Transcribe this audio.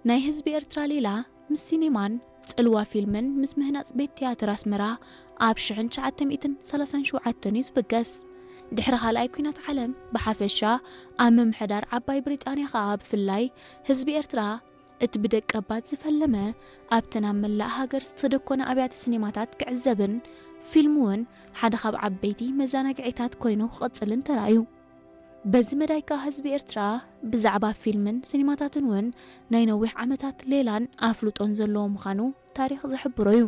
ናይ ህዝቢ ኤርትራ ሌላ ምስ ሲኔማን ጽልዋ ፊልምን ምስ ምህናጽ ቤት ትያትር ኣስመራ ኣብ ሽሕን ትሽዓተ ሚእትን ሰላሳን ሸውዓተን እዩ ዝብገስ። ድሕሪ ካልኣይ ኲናት ዓለም ብሓፈሻ ኣብ ምምሕዳር ዓባይ ብሪጣንያ ከኣ ብፍላይ ህዝቢ ኤርትራ እቲ ብደቀባት ዝፈለመ ኣብተን ኣብ መላእ ሃገር ዝተደኮነ ኣብያተ ሲኔማታት ክዕዘብን ፊልም እውን ሓደ ካብ ዓበይቲ መዘናግዒታት ኮይኑ ክቕጽልን ተራእዩ። በዚ መዳይ ከኣ ህዝቢ ኤርትራ ብዛዕባ ፊልምን ሲኒማታትን እውን ናይ ነዊሕ ዓመታት ሌላን ኣፍልጦን ዘለዎ ምዃኑ ታሪኽ ዝሕብሮ እዩ።